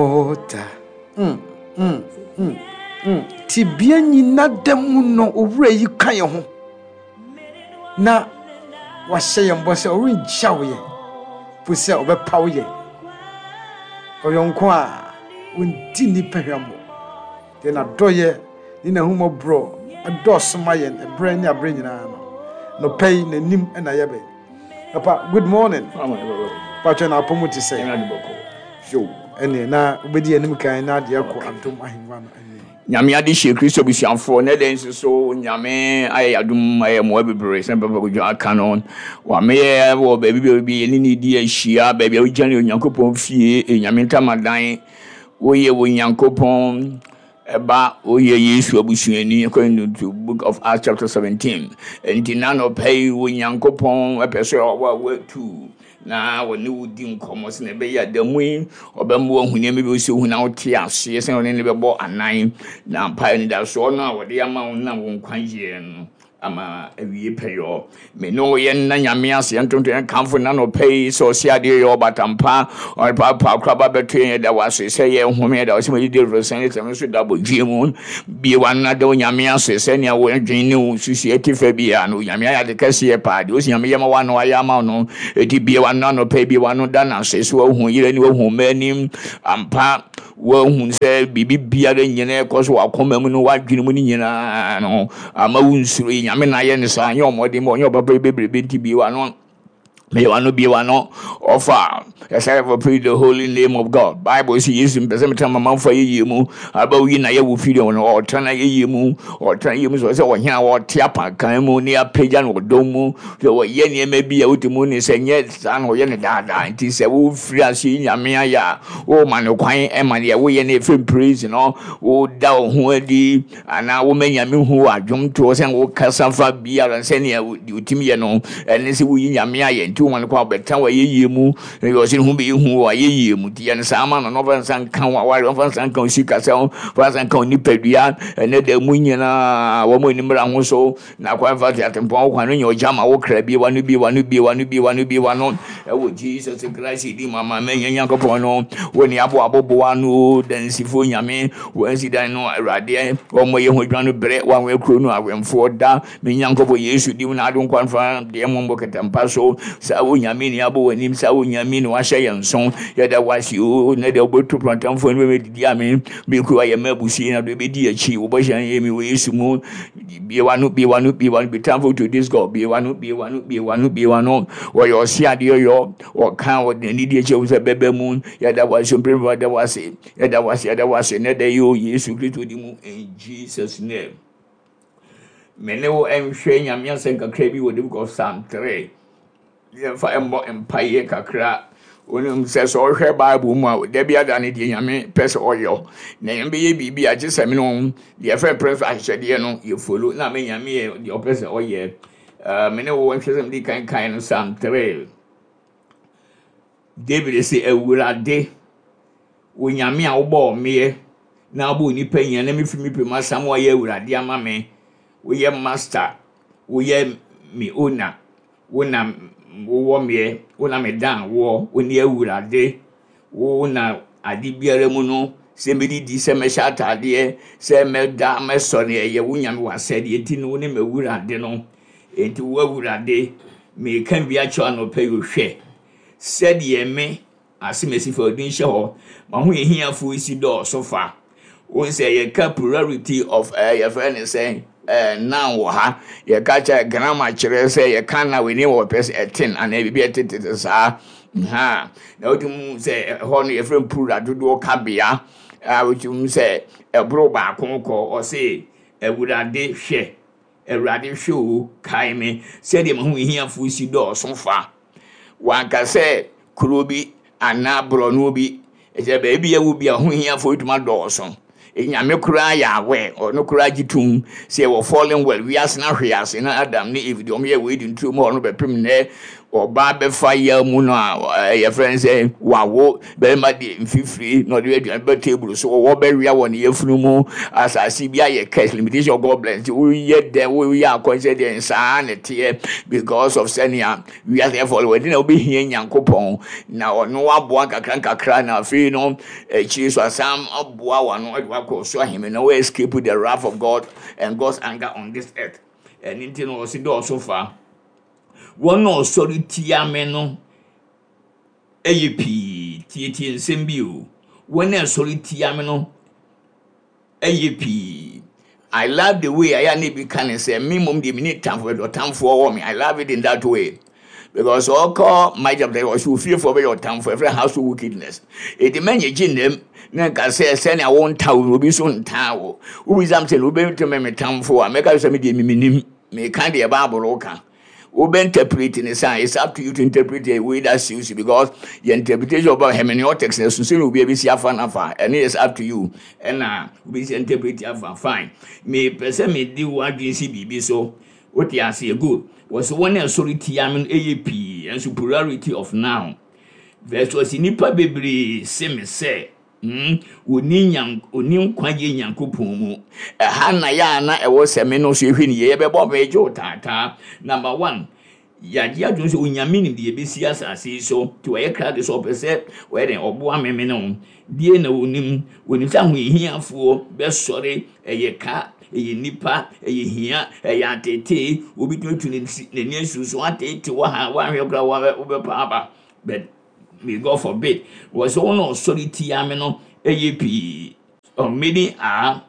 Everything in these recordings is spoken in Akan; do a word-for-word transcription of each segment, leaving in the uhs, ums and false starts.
Da. Mm, mm, mm, mm. Tebea nyina da mu no, owura yi ka yɛn ho na wahyɛ yɛn bɔ sɛ ɔrengyaw yɛn po sɛ ɔbɛpaw yɛn. Ɔyɔnko a ɔndi nnipa hwammɔ deɛ, n'adɔyɛ ne n'ahummɔborɔ ɛdɔɔso ma yɛn ɛberɛ ne aberɛ nyinaa no. Nɔpɛ yi n'anim ɛna yɛbɛn. Papa, good morning. Patwɛ na apɔ mu te sɛ yo ɛneɛ na wobɛdi anim kan na adeɛ kɔ adom ahengua no anim. Nyame ade hyɛ Kristo abusuafoɔ na ɛdɛn nso so Nyame ayɛ yɛadom, ayɛ mmoa bebree sɛ Papa Kodwo aka no. Wameyɛ wɔ baabi baabi yɛne ne di ahyia, baabi a wogyina ne Onyankopɔn fie, Nyame ntamadan. Woyɛ Onyankopɔn ɛba, woyɛ Yesu abusuani according to Book of Acts chapter seventeen. Nti na nɔpɛ yi Onyankopɔn ɛpɛ sɛ ɔwɔ a watu na wɔne wo di nkɔmmɔ sɛ na ɛbɛyɛ adamu yi ɔbɛma wahu nneɛma bi sɛ ohu na wote aseɛ sɛ ɔne ne bɛbɔ anan na mpaeɛ nidasoɔ no a wɔde ama wo nam wo nkwagyeɛ no ama awie pɛyɔ. Me ne wo yɛnna Nyame ase, yɛntonto, yɛnkamfo na nɔpɛ yi sɛ ɔse adeɛ yɛ ɔbatampa ɔpaapa koraba bɛto yɛn. Yɛda wo ase sɛ yɛhome, yɛda wo sɛ mɛdidi resɛn sɛm nso da bɔdwie mu bie wano da Onyame ase sɛnea wɔdwen ne wo susu ɛte fa bia no, Onyame ayɛ ade kɛseɛ paa deɛ ɔsi Nyame yɛma wano ayɛ ama wo no. Ɛti bie wano anɔpɛ, bie wano da no ase sɛ wahu yerɛ ne wahu mma anim ampa, wahu sɛ biribi biara nyina ɛkɔ so wakoma mu no, wadwene mu no nyinaa no ama wo nsuro yi. Nyame na ayɛ ne saa, nyɛ ɔmmɔden ma ɔnyɛ ɔpapa yi bebrebe. Nti bie wano, bie wano, bie wano ɔfa ɛsɛ for praise the holy name of God. Bible sɛ Yesu mpɛ sɛ metena mamanfo ayɛyie mu aba woyi na yɛwɔ firi no, ɔtena ayɛyie mu, ɔtena ayɛyie mu sɛ sɛ ɔhene a ɔte apakan mu ne apagya no ɔdɔm mu sɛ wɔyɛ nneɛma bi a wote mu ne sɛ nyɛ saa na ɔyɛ no daadaa. Nti sɛ wofiri ase yi Nyame ayɛ a, woma no kwan ɛma deɛ woyɛ no ɛfiri praise no, woda wo ho adi anaa woma Nyame hu wɔ adwomtoɔ sɛ wokasa fa biara sɛnea deɛ wotumi yɛ no ɛne sɛ woyi Nyame ayɛ. Nti woma no kwan wobɛtena wɔ ayɛyie mu, ɔsɛ ne ho bɛyɛ hu wɔ ayɛyie mu. Nti yɛno saa ma no na ɔfa nsa nka wo aware, ɔfa nsa nka wo sikasɛm, ɔfa nsa nka wo nipadua. Ɛnɛ da mu nyinaa wɔn anim mmra ho so na kwan fa te atempɔn wo kwan no nyɛ ɔgya ma wo kra. Bie wano, bie wano, bie wano, bie wano, bie wano ɛwɔ Jesus Christ di mu ama mɛnyɛ Nyankopɔn no wo ne abo aboboa no dansifoɔ. Nyame wɔansi dan no, Awurade wɔmmɔ yɛ ho adwuma no berɛ wɔanwɛ kuro no awɛmfoɔ da. Me Nyankopɔn, Yesu di mu na ado nkwa mfa deɛ mmɔmmɔ kɛtɛmpa so saa wo Nyame ne abɔ w'anim, saa wo Nyame ne wahyɛ yɛn so. Yɛda wase o na deɛ wobɛto prantamfoɔ no bɛmɛdidi ame mekuro ayɛ ma abusie na deɛ wobɛdi akyi wobɛhyɛ yɛ mi wɔ Yesu mu. Bie wano, bie wano, bie wano. Be thankful to this God. Bie wano, bie wano, bie wano, bie wano. Wɔyɛ ɔse adeɛ yɔ ɔka ɔde n'ani di akyi sɛ bɛbɛ mu. Yɛda wase mpere, yɛda wase, yɛda wase, yɛda wase ne da yi o Yesu Kristo di mu, in Jesus name. Me ne wo nhwɛ Nyame asɛm kakra bi wɔ the Book of Psalm three. Yɛmfa mmɔ mpaeɛ kakra. Wonim sɛ sɛ ɔhwɛ Bible mu a, da bi ada ne deɛ Nyame pɛ sɛ ɔyɛ na Nyame bɛyɛ biribi a gye sɛ me no deɛ ɛfɛ pɛ so ahyehyɛdeɛ no yɛfollow na me Nyame yɛ deɛ ɔpɛ sɛ ɔyɛ. Me ne wo nhwɛ sɛ mede kan kan no Psalm three. David sɛ, "Awurade, wo Nyame a wobɔɔ meɛ na wobɔɔ nipa nyina na mefiri me pɛ mu asam wɔyɛ Awurade ama me, woyɛ master, woyɛ me owner, wo na wowɔ meɛ, wo na medan woɔ, wo ne Awurade, wo na ade biara mu no, sɛ mɛdidi, sɛ mɛhyɛ ataadeɛ, sɛ mɛda mɛsɔ ne ɛyɛ wo Nyame w'asɛdeɛ. Nti no wo ne m'Awurade no. Enti wo Awurade, meka bi akyerɛ anɔpɛ yi, hwɛ sɛdeɛ me asemesi fa odin hyɛ hɔ ma ho yɛhiafoɔ si dɔɔso fa wɔn sɛ yɛka plurality of ɛɛ yɛfrɛ ne sɛ ɛɛ noun wɔ ha. Yɛka kyerɛ grammar kyerɛ sɛ yɛka na wɔ wɔ pɛ sɛ ɛten anaa biribi ɛtetete saa ha na wotumi sɛ ɛhɔ no yɛfrɛ no plural, dodoɔ kabea a wotumi sɛ ɛboro baako kɔ. Ɔse, "Awurade hwɛ, Awurade hwɛ o, kae me sɛdeɛ me ho hiafoɔ si dɔɔso fa." Wanka sɛ kuro bi anaa borɔno bi, ɛsɛ baabi a wo bi a ho hiafoɔ tuma dɔɔso. Nyame koraa yɛ awɛ, ɔno koraa gye tom sɛ wɔ fallen world, wiase no ahwe ase na Adam ne Eve deɛ ɔmo yɛ wɔ Eden turo mu hɔ no bɛpem nnɛ. Ɔbaa bɛfa yaw mu no a, yɛfrɛ no sɛ wawo barima de mfifiri na ɔde aduane bɛ table so, ɔwɔ bɛwia wɔ ne yafunu mu, asase bi ayɛ curse, limitation of God bless. Nti woyɛ dɛn, woyɛ akɔnhyɛ dɛn, saa na ɛteɛ because of sɛnea wiase ɛfɔ wɔde na wobɛhia Nyankopɔn na ɔno aboa nkakra nkakra, na afei no akyiri so asan aboa wano de wakɔ so ahemman na wo escape the wrath of God and God's anger on this earth. Ɛno nti no ɔsi dɔɔso fa wɔn a ɔsɔre tia me no ɛyɛ pii. Tietie nsɛm bi o, wɔn a ɛsɔre tia me no ɛyɛ pii. I love the way ayɛ a na ebi ka ne sɛ me mmom deɛ, me ne tamfo bɛdɔ, ɔtamfoɔ wɔ me. I love it in that way because ɔkɔ my chapter, ɔsɛ ofiefoɔ bɛyɛ ɔtamfo, ɛfrɛ household wickedness. Edi mɛnyɛ gye nam na nka sɛ sɛnea wɔnta wo, obi nso ntaa wo. Wobisam sɛ na wobɛtumi me tamfo a, mɛka sɛ me deɛ memenim meka deɛ Bible ka. Wobɛ interpret ne sa, it's up to you to interpret the way that suits you, because your interpretation about hermeneutics na sunsun na obi abɛsi afa nafa, ɛno is up to you ɛna wobɛsi interpret afa. Fine, mepɛ sɛ mede w'adwene si biribi so. Wote aseɛ? Good. Wɔsɛ wɔn a ɛsɔre tia me no ɛyɛ pii, ɛnso plurality of noun. Verse, wɔsi nipa bebree se me sɛ mm oni nyan oni nkwagye Nyankopɔn mu. Ɛha na yɛ a na ɛwɔ sɛ me no so ehwɛ ne yie, yɛbɛbɔ me gye wo taataa. Number one, yagye adwene sɛ Onyame nim deɛ ɛbɛsi asase yi so, nti wɔyɛ krado sɛ ɔpɛ sɛ wɔyɛ dɛn ɔboa me me no deɛ na onim onim sɛ ahohiahiafoɔ bɛsɔre. Ɛyɛ ka, ɛyɛ nipa, ɛyɛ hia, ɛyɛ atete. Obi tumi tu n'ani asu so atete wɔ ha, woahwɛ koraa wobɛpa aba, but may God forbid. Wɔ sɛ wɔn a ɔsɔre tia me no ɛyɛ pii. Many are,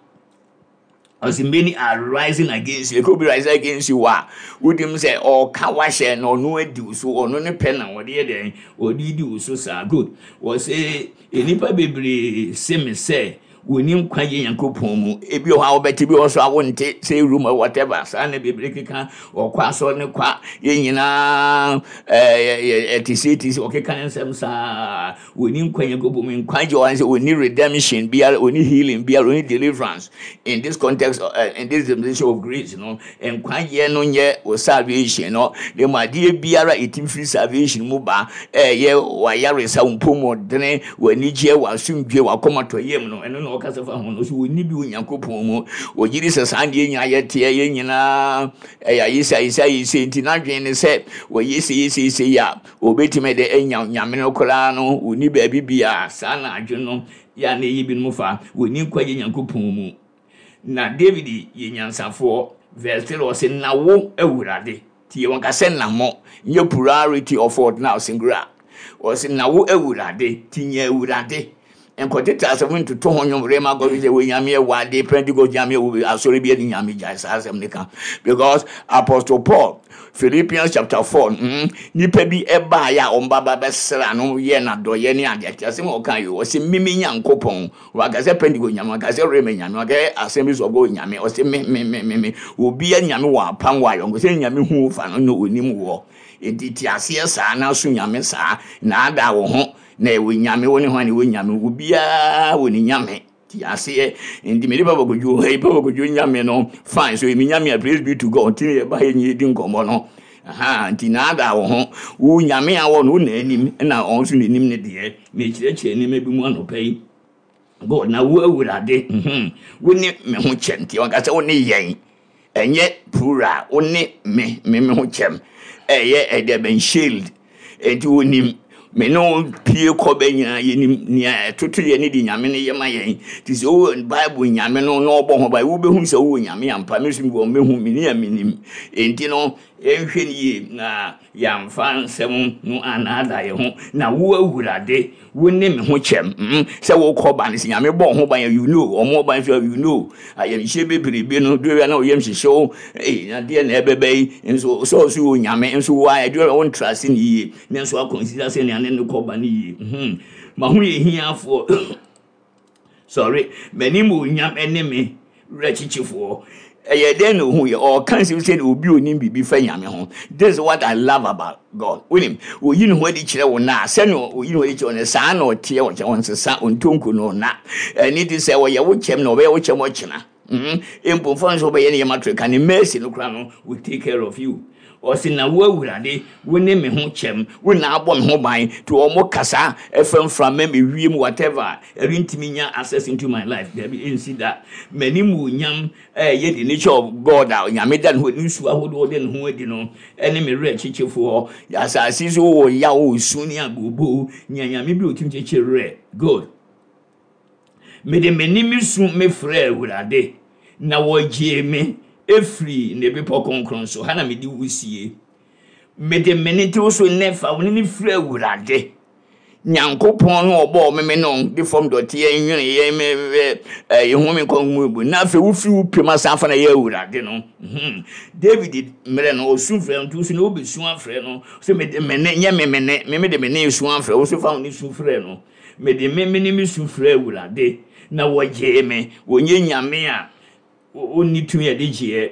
ɔsɛ many are rising against you. Eke obi rising against you a, wodim sɛ ɔka wahyɛ na ɔno adi wo so, ɔno ne pɛ na ɔde yɛ dɛn, ɔde di wo so saa. Good. Wɔsɛ nnipa bebree se me sɛ wɔni nkwagye Nyankopɔn mu. Ebi wɔ hɔ a wobɛte, bi wɔ so a wonte, sɛ room or whatever. Saa na bebree keka ɔkɔ asɔre ne kwa, yɛn nyinaa ɛɛ ɛte se te se ɔkeka ne nsɛm saa. Wɔni nkwa Nyankopɔn mu. Nkwagye wɔ sɛ wɔni redemption biara, wɔni healing biara, wɔni deliverance in this context, uh, in this dimension of grace no. Nkwagye no nyɛ wɔ salvation no na mu adeɛ biara ɛtim firi salvation mu ba, ɛyɛ wayaresa, wo mpɔmɔdene, w'anigyeɛ, w'asomdwe, w'akɔmatɔyam no. Ɛno na ɔkasa fa ho no so wɔni bi wɔ Nyankopɔn mu. Wɔgye di sɛ saa deɛ nyinaa yɛteɛ, yɛn nyinaa ɛyɛ ayɛsɛ ayɛsɛ ayɛsɛ, nti n'adwene ne sɛ wɔyɛ sɛ yɛsɛ yɛsɛ yi a, wɔbɛtumi de anya Nyame no koraa no. Wɔni baabi bia saa na adwene no yɛ a na ɛyɛ binom fa wɔni nkwagye Nyankopɔn mu. Na David yɛ nyansafoɔ. Verse three, ɔsɛ na wo Awurade tie wɔn kasɛ na mo nyɛ plurality of what now, singular. Ɔsɛ na wo Awurade ti nyɛ Awurade nkɔtete asɛm ntoto ho nnwom rema gɔ sɛ wɔ Nyame ɛwɔ ade Pentecost Nyame ɛwɔ asɔre bi ɛne Nyame. Gyae saa asɛm ne ka, because Apostle Paul, Philippians chapter four, mm, nipa bi ɛbaeɛ a ɔmba ba bɛsra no yɛ n'adɔyɛ ne ade ate asɛm a ɔka yi, ɔsɛ mimi Nyankopɔn. Waka sɛ Pentecost Nyame, waka sɛ Rema Nyame, waka sɛ Assemblies of God Nyame. Ɔsɛ me me me me me obi Nyame wɔ apam wɔ ayɔnko sɛ Nyame hu fa no na onim wɔ. Nti te aseɛ saa na so Nyame saa na ada wo ho na ɛwɔ Nyame wo ne ho ne wɔ Nyame, obiara wɔ ne Nyame. Te aseɛ. Nti mede Papa Kodwo, hey, Papa Kodwo Nyame no, fine. So emi Nyame a, praise be to God. Nti yɛba yɛ nyɛ di nkɔmmɔ no aha. Nti na ada wo ho wo Nyame a wɔ no wo na anim na ɔno nso n'anim ne deɛ mekyerɛkyerɛ nneɛma bi mu anɔpa yi. God na wo Awurade, mhm wo ne me ho kyɛm. Nti ɔnka sɛ wo ne yɛn, ɛnyɛ plural. Wo ne me me me ho kyɛm, ɛyɛ ɛdeɛ bɛn shield. Nti wonim me ne wo pie kɔ bɛ nyinaa, yɛnim nea ɛtoto yɛ ne de Nyame no yɛ ma yɛn. Nti sɛ wowɔ Bible Nyame no na ɔbɔ ho ban, wobɛhu sɛ wowɔ Nyame ampa. Me nso mewɔ mɛhu me ne a menim. Enti no yɛnhwɛ no yie na yɛamfa nsɛm no anaada yɛn ho. Na wo Awurade, wo ne me ho kyɛm. mm sɛ wokɔ ba no sɛ Nyame bɔ ho ban, you know ɔmo ban so, you know ayɛmhyɛ bebrebe no dore na ɔyam hyehyɛ wo ee na deɛ na ɛbɛbɛ yi nso sɛ ɔso wɔ Nyame nso wo a ɛdore wo ntra ase ne yie ne nso akɔnsida sɛ nea ne ne kɔ ba no yie. mhm ma ho yɛ hiafoɔ, sorry, m'anim onyam ne me werɛ kyekyefoɔ. Ɛyɛ dɛn na ohu yɛ ɔka nsɛm sɛ obi onim biribi fa Nyame ho? This is what I love about God. Wonim oyi ne ho adi kyerɛ wo na sɛnea oyi ne ho adi kyerɛ wo no, saa na ɔteɛ wɔ kyɛn. Ɔnsesa, ɔntonko no na ɛne ti sɛ ɔyɛ wo kyɛm na ɔbɛyɛ wo kyɛm ɔkyena. Mpo mfa nso wobɛyɛ ne yɛma to ka ne mercy no kora no will take care of you. Ɔse na wo Awurade, wo ne me ho kyɛm, wo na abɔ me ho ban, nti wɔn kasa ɛfɛ mframa me wiem whatever, ɛrentumi nya access into my life. Dabi, ɛnsi da. M'anim onyam ɛyɛ the nature of God a Nyame da ne ho ne nsu ahodoɔ de ne ho adi no, ɛne me werɛ kyekyefoɔ. Asase so wɔ yaw, osu ne abobo, nya Nyame bi a otumi kyekyere werɛ. Good. Mede m'anim su mefrɛ Awurade, na wɔgyee me efiri ne bepɔ kronkron so. Ha na mede wo sie. Mede me ne te so nnɛ fa wo ne ne frɛ Awurade. Nyankopɔn no ɔbɔɔ me me no de fam dɔteɛ nwene yɛ me ɛyɛ ho me nkɔn mu bu. Na afei wofiri wo pem asan fa na yɛ Awurade no. Mhm. David mmerɛ no ɔsu frɛ no, nti wo so na wobɛsu afrɛ no. Sɛ mede me ne nyɛ me me ne me mede me ne su afrɛ wo so fa wo ne su frɛ no. Mede me me ne me su frɛ Awurade na wɔgyee me. Wɔnyɛ Nyame a ɔnni tumi a ɛde gyeɛ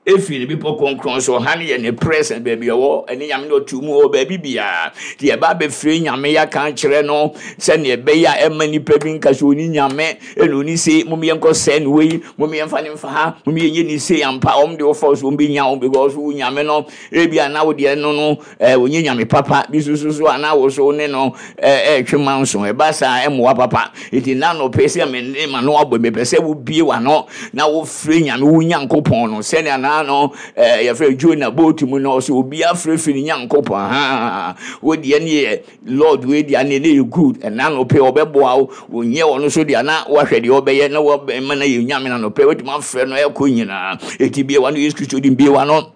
efiri ne bepɔ kronkron so. Ha ne yɛ ne presence, baabi a ɔwɔ ɛne Nyame no ɔtu mu wɔ baabi biara. Nti yɛba abɛfiri Nyame yɛaka akyerɛ no sɛnea ɛbɛyɛ a ɛma nipa bi nka sɛ ɔni Nyame ɛna ɔni se mom yɛnkɔ sɛɛ no wei, mom yɛmfa ne mfa ha, mom yɛnyɛ ne se ampa. Ɔm de wɔfa so ɔm bɛnya wo because wo Nyame no ebi a na wo deɛ no no ɛɛ ɔnyɛ Nyame papa bi so so so a na wo so ne no ɛɛ ɛɛtwe manso ɛba saa ɛmmoa papa. Nti na nɔpɛ sɛ me ne ma no abɔ mepɛ sɛ wobie w'ano na wofrɛ Nyame wo Nyankopɔn no sɛnea na no ɛɛ yɛfrɛ Jonah boat mu no, ɔsɛ obi afrɛfrɛ ne Nyankopɔn. Ha wo deɛ ne yɛ Lord wei deɛ ne ne yɛ good. Ɛna nɔpɛ ɔbɛboa wo, wonyɛ ɔno so deɛ na wahwɛ deɛ ɔbɛyɛ na wɔbɛma no yɛ Nyame. Na nɔpɛ wotumi afrɛ no ɛkɔ nyinaa. Eti bie w'ano, Yesu Kristo din, bie w'ano.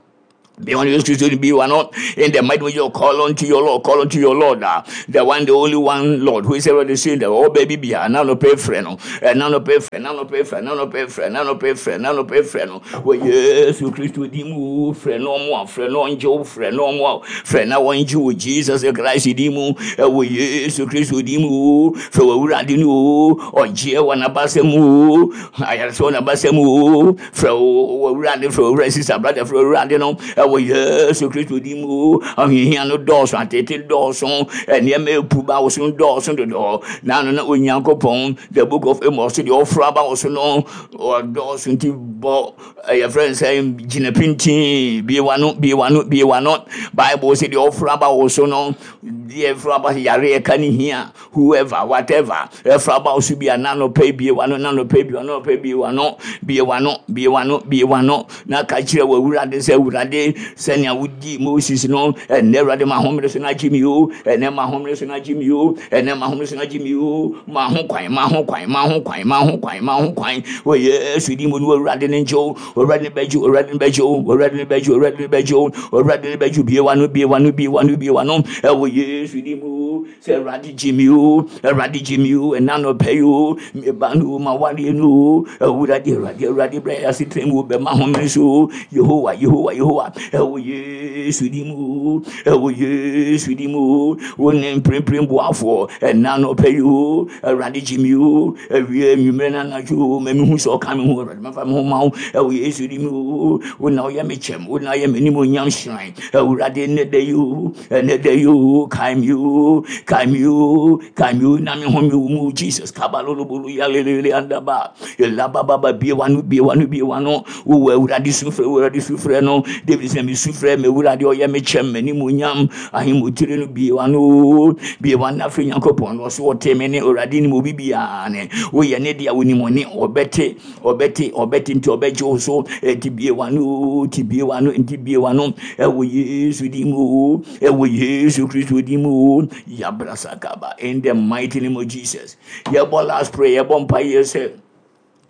Be on Jesus Christ, be one in the mighty name of call unto your Lord, call unto your Lord, uh, the one, the only one Lord, who is ever the same, the oh baby, be now no pay friend, and now no pay friend, now no pay friend, now no pay friend, now no pay friend, now no pay friend. Well, Yesu Kristo din mu frɛ no mo, frɛ no njo, frɛ no mo, frɛ na wɔn gye Jesus Christ din mu, ɛwɔ Yesu Kristo din mu, frɛ wɔ Awurade no, ɔgye wɔ n'abasa mu, ayaresa wɔ n'abasa mu, frɛ wɔ Awurade, frɛ Awurade, sister, brother, frɛ Awurade no, ɛwɔ Yesu Kristo din mu. Ahohia no dɔɔso, atete dɔɔso, nneɛma epu ba wo so dɔɔso dodo. Na no na Onyankopɔn, the book of Amos, deɛ ɔforo aba wo so no ɔdɔɔso, nti bɔ yɛfrɛ no sɛ gyina pintin, bie w'ano, bie w'ano, bie w'ano. Bible sɛ deɛ ɔforo aba wo so no, deɛ ɛforo aba yare ɛka ne hia, whoever, whatever ɛforo aba wo so bi a, nanɔpɛ bie w'ano, nanɔpɛ bie w'ano, nanɔpɛ bie w'ano, bie w'ano, bie w'ano, bie w'ano na ka kyerɛ wɔ Awurade sɛ, Awurade, sɛnea wodi Moses no, ɛnɛ Awurade ma ahomere so na agye mi o, ɛnɛ ma ahomere so na agye mi o, ɛnɛ ma ahomere so na agye mi o. Ma ho kwan, ma ho kwan, ma ho kwan, ma ho kwan, ma ho kwan wɔ Yesu din mu no. Awurade ne ngye o, Awurade ne bɛgye o, Awurade ne bɛgye o, Awurade ne bɛgye o, Awurade ne bɛgye o, Awurade ne bɛgye o. Bie w'ano, bie w'ano, bie w'ano, bie w'ano ɛwɔ Yesu din mu sɛ Awurade gye mi o, Awurade gye mi o, ɛna nɔpɛ yi o, meba no o, ma wareɛ no o. Awurade, Awurade, Awurade, brɛ yɛ asetena mu, bɛma homere so o. Yehowa, Yehowa, Yehowa, ɛwɔ Yesu din mu, ɛwɔ Yesu din mu, wo ne mprempren boafoɔ. Ɛna nɔpɛ yi o, Awurade gye mi o, awie anwummerɛ no anadwo o, ma mehu sɛ ɔka me ho. Awurade, mafa me ho ma wo ɛwɔ Yesu din mu o. Wo na woyɛ me kyɛm, wo na woyɛ m'animuonyam hyerɛn. Awurade, nnɛ da yi o, ɛnɛ da yi o, kae me o, kae me o, kae me o, na me ho me wo mu. Jesus kabalolobolo yalelele andaba elabababa. Bie w'ano, bie w'ano, bie w'ano. Wowɔ Awurade su frɛ, Awurade su frɛ no. David sɛ mesu frɛ me Awurade, ɔyɛ me kyɛm, m'animuonyam ahemmotire no. Bie w'ano, bie w'ano afei Nyankopɔn no ɔso ɔte me ne. Awurade nim obi biara ne woyɛ ne deɛ wonim ɔne ɔbɛte, ɔbɛte, ɔbɛte, nti ɔbɛgye wo so. Ɛnti bie w'ano, nti bie w'ano, nti bie w'ano ɛwɔ Yesu din mu, ɛwɔ Yesu Kristo din mu. Yabrasakaba, in the mighty name of Jesus. Yɛbɔ last prayer, yɛbɔ mpaeɛ sɛ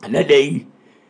ɛnɛ da yi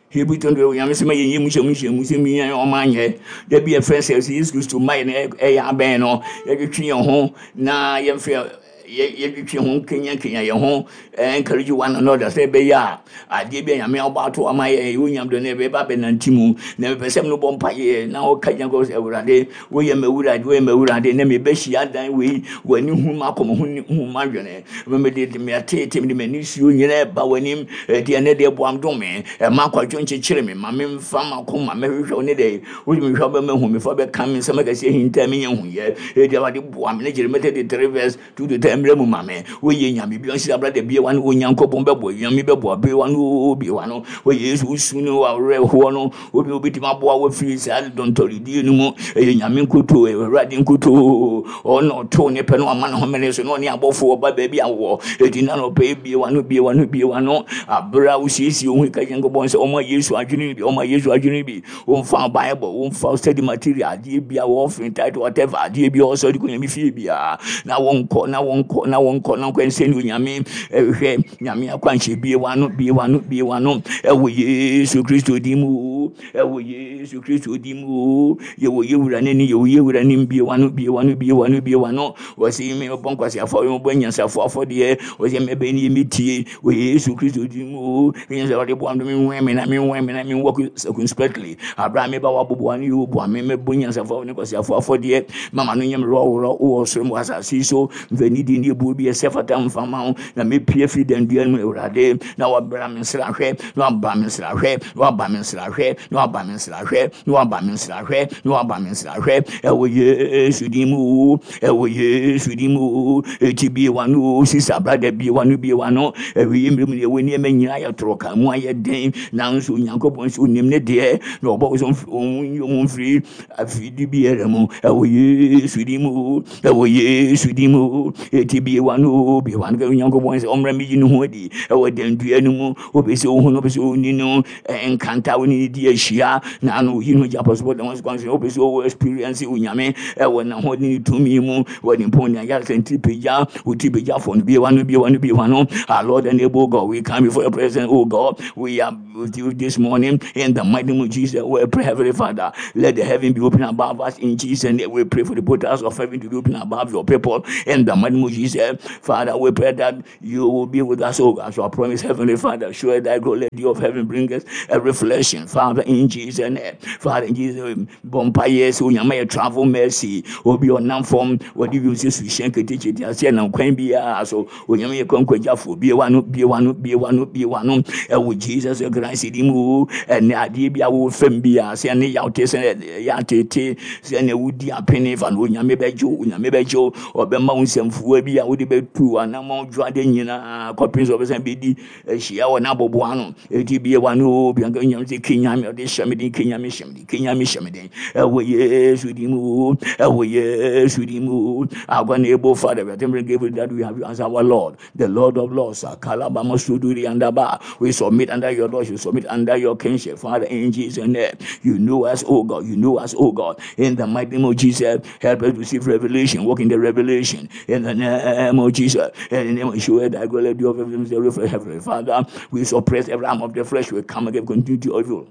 Hebrew twenty, Onyame sɛ ma yɛnyɛ mu hyɛ mu hyɛ mu sɛ mia ɔma anyɛ da bi yɛfrɛ sɛ sɛ Yesu Kristo ma yɛ no ɛyɛ abɛn no, yɛtwetwe yɛn ho na yɛmfrɛ yɛtwetwe ho nkenya yɛn ho, encourage one another sɛ ɛbɛyɛ a adeɛ bi a Nyame abɔ ato ama yɛ onyam do no ɛbɛba bɛnante mu. Na mepɛ sɛ no bɔ mpayɛ na wɔka gyina kɔ sɛ, Awurade, woyɛ m'Awurade, woyɛ m'Awurade, na mebɛhyia dan wei, w'ani hu m'akoma hu hu m'adwene, mede meatete, mede m'ani suo nyinaa ɛba w'anim. Ɛdeɛ ɛnɛ deɛ boam dom me, ɛma akwadwo nkyekyere me, ma memfa m'akoma mɛhwehwɛ wo ne dɛ wode mehwɛ wobɛma hu mefa bɛka me nsɛm akɛseɛ hinta menyɛ huyɛ. Ɛdeɛ Awurade boa me ne Jeremiah thirty-three verse two to ten. mmerɛ mu ma me. Woyɛ Nyame bi ɔnhyira brother bie wano, Onyankopɔn bɛboa, Nyame bɛboa, bie wano, bie wano. Wɔ Yesu wosu no awerɛhoɔ no, obi obɛtumi aboa wo afiri saa dɔntɔredie no mu. Ɛyɛ Nyame nkutoo, ɛyɛ Awurade nkutoo. Ɔno ɔtoo ne pɛ no ama ne homene so na ɔne abɔfoɔ ɔba baabi a wɔ. Enti na nɔpɛ bie wano, bie wano, bie wano. Aberɛ a wosiesie wo ho ka Nyankopɔn sɛ ɔma Yesu adwene bi, ɔma Yesu adwene bi. Womfa Bible, womfa study material, adeɛ bi a wɔɔfin title, whatever, adeɛ bi a ɔsɔ de kɔ Nyame fie biara. Na wɔnkɔ, na wɔnkɔ, na wɔnkɔ, na wɔnkɔ nsɛ ne Onyame ɛhwɛ Nyame akwanhyɛ bie wano, bie wano, bie wano. Ɛwɔ Yesu Kristo din mu, ɛwɔ Yesu Kristo din mu. Yɛwɔ yɛwura n'ani, yɛwɔ yɛwura n'anim, bie wano, bie wano, bie wano, bie wano. Wɔsi mi bɔ nkwasiafo, mi bɔ nyansafo afɔdeɛ. Wɔsi mi bɛ ni mi tie. Wɔ Yesu Kristo din mu. Nyɛ sɛ ɔde boa mi nwɛn mi na mi nwɛn mi na mi nwɔ circumspectly. Abira mi ba wa bobo ani yo boa mi mi bɔ nyansafo ne nkwasiafo afɔdeɛ. Mama no nyɛ mi rɔwrɔ wɔ soro mu asase so. Mfɛ ni di ni ebu bi ɛsɛ fata nfama ho. Na mi pie firi dɛndua mu Awurade. Na wabra mi nsrahwɛ, na waba mi nsrahwɛ, na waba mi nsrahwɛ, na waba mi nsrahwɛ, na waba mi nsrahwɛ, na waba mi nsrahwɛ. Ɛwɔ Yesu din mu, ɛwɔ Yesu din mu. Eti bie wano, sisa brother bie wano, bie wano. Ɛwɔ yi mmerɛ mu deɛ wɔ nneɛma nyinaa yɛ toro ka mu ayɛ den. Nanso Onyankopɔn nso onim ne deɛ. Na ɔbɔ so ɔmo ɔmo mfiri afidi biara mu. Ɛwɔ Yesu din mu, ɛwɔ Yesu din mu. Eti bie wano, bie wano. Onyankopɔn sɛ ɔmmra mi yi ne ho adi. Ɛwɔ dɛndua no mu. Obi sɛ ohun, obi sɛ oni no. Nkanta wo ne di ahyia. Na ano yi no gya pɔsopɔ dɛm ɔsɛ kwan so. Obi sɛ ɔwɔ experience Onyame. Ɛwɔ n'ahoɔden ne tumi mu. Wɔ ne mpɔn ne ayare sɛ ntiri pagya. Oti pagya fɔ no bie wano, bie wano, bie wano. Our Lord and able God, we come before your presence, oh God. We are with you this morning in the mighty name of Jesus. We pray, Heavenly Father, let the heaven be open above us in Jesus' name. We pray for the portals of heaven to be open above your people in the mighty name of Jesus. Father, we pray that you will be with us, oh God. So I promise, Heavenly Father, sure thy glory, let of heaven bring us a reflection. Father, in Jesus' name. Father, in Jesus' name, Bompa so Onyame travel mercy. Obi ɔnam fam, wɔde wiem sɛ suhyɛn ketekete ase nam kwan biara so. Onyame yɛ kwankwagyafoɔ, bie wano, bie wano, bie wano, bie wano. Ɛwɔ Jesus Christ din mu. Ɛnɛ adeɛ bi a wɔwɔ fam biara, sɛ ɛne yaw te sɛ ɛyɛ atete, sɛ ɛne wodi apene fa no, Onyame bɛgye wo, Onyame bɛgye wo. Ɔbɛma wo nsɛmfua bi a wode bɛtu anammɔn dwoade nyinaa kɔpem sɛ ɔbɛsan bɛdi ahyia wɔ n'aboboa ano. Eti bie wano, bianka Onyame sɛ kenyame, ɔde hyɛ me den, kenyame hyɛ me den, kenyame hyɛ me den. Ɛwɔ Yesu din mu, ɛwɔ Yesu din mu. Our able Father, we are thankful grateful that we have you as our Lord, the Lord of Lords. Kalabama Suduri and Abba. We submit under your lordship, submit under your kingship, Father, in Jesus' name. You know us, oh God, you know us, oh God. In the mighty name of Jesus, help us to receive revelation, walk in the revelation. In the name of Jesus, in the name of Yeshua, thy glory, of heaven, Father, we suppress every arm of the flesh. We come against continuity of evil.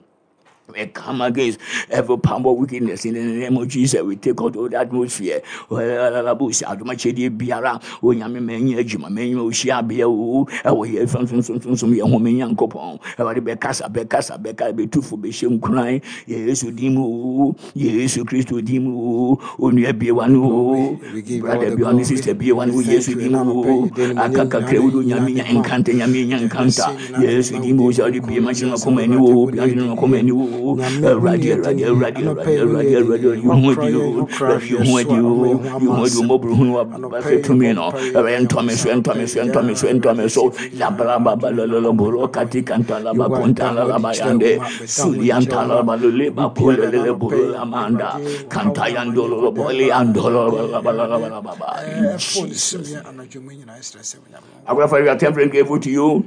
We come against every power of wickedness in the name of Jesus. We take out all the atmosphere. Adomakyɛdeɛ biara Onyame mɛnyɛ adwuma mɛnyɛ ohyia bea o ɛwɔ yɛ fam som som som som yɛ ho mɛnya nkɔpɔn Awurade bɛkasa bɛkasa bɛka bɛtufo bɛhyɛ nkuran Yesu din mu o Yesu Kristo din mu o onua bie wano o We give you all brother the bie wano glory. sister bie wano We thank Yesu you. din mu Ɛna o anɔpa yi, yɛde aka animuonyam kakra nyinaa wo Nyame nya nyinaa de ma wo. nkanta Nyame nya nkanta Yɛbɛsɛ nyinaa de Yesu ma wo din mu din sɛ ɔde bie kronkron ma hyɛ nyinaa sɛ makoma ani Awurade o wo ne bia yɛdi hyɛ makoma ani o Nyame wo Awurade ne yɛdi Awurade ne Awurade anɔpa Awurade yi wo ne Awurade yɛdi Awurade ne yi ho wakora adi yɛn o wokora Awurade yi hwɛ ho so adi a o ɔma yɛn ho yi ho ama adi o asɛm mmɔborɔhunu anɔpa wabasa yi tumi yɛbɔ no mpaeɛ Awurade yɛda ntɔ me wo so ase ntɔ anɔpa me yi so ntɔ me so yaa ntɔ me Awurade so tiefo nyinaa labra baba adom lolo Nyankopɔn boro abɔ kati yɛn kanta laba Yehowa konta da ho adi laba kyerɛ wo yande ma bɛda ho suli adi kyerɛ anta wo ma laba lole obi ba kole biara na lele anɔpa boro yi amanda Awurade ɔhaw kanta ne amanneɛ yandolo kɔdaa boli ba andolo Awurade laba laba Awurade laba laba in ɛfo ne Jesus sumyɛ anadwo mu nyinaa ɛsrɛ sɛ Onyame Our Father, we are thankful and grateful to you.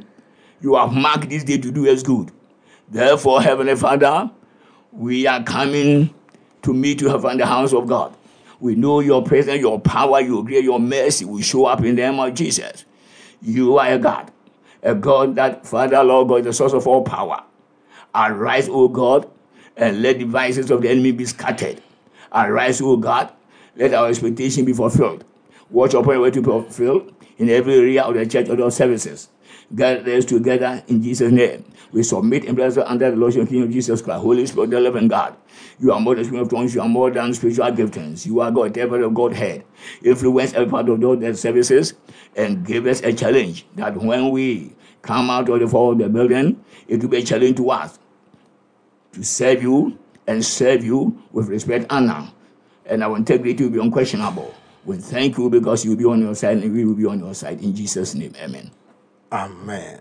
You have marked this day to do us good. Therefore, Heavenly Father, we are coming to meet you in the house of God. We know your presence, your power, your grace, your mercy will show up in the name of Jesus. You are a God, a God that, Father, Lord God, is the source of all power. Arise, O God, and let the devices of the enemy be scattered. Arise, O God, let our expectation be fulfilled. Watch upon your way to be fulfilled in every area of the church or the services. Gather us together in Jesus' name. We submit and bless under the Lordship and King of Jesus Christ. Holy Spirit, the living God. You are more than spirit of tongues. You are more than spiritual giftings. You are God, every of Godhead. Influence every part of those services and give us a challenge that when we come out of the floor of the building, it will be a challenge to us to serve you and serve you with respect, honor, and our integrity will be unquestionable. We thank you because you'll be on your side and we will be on your side. In Jesus' name, amen. Amen.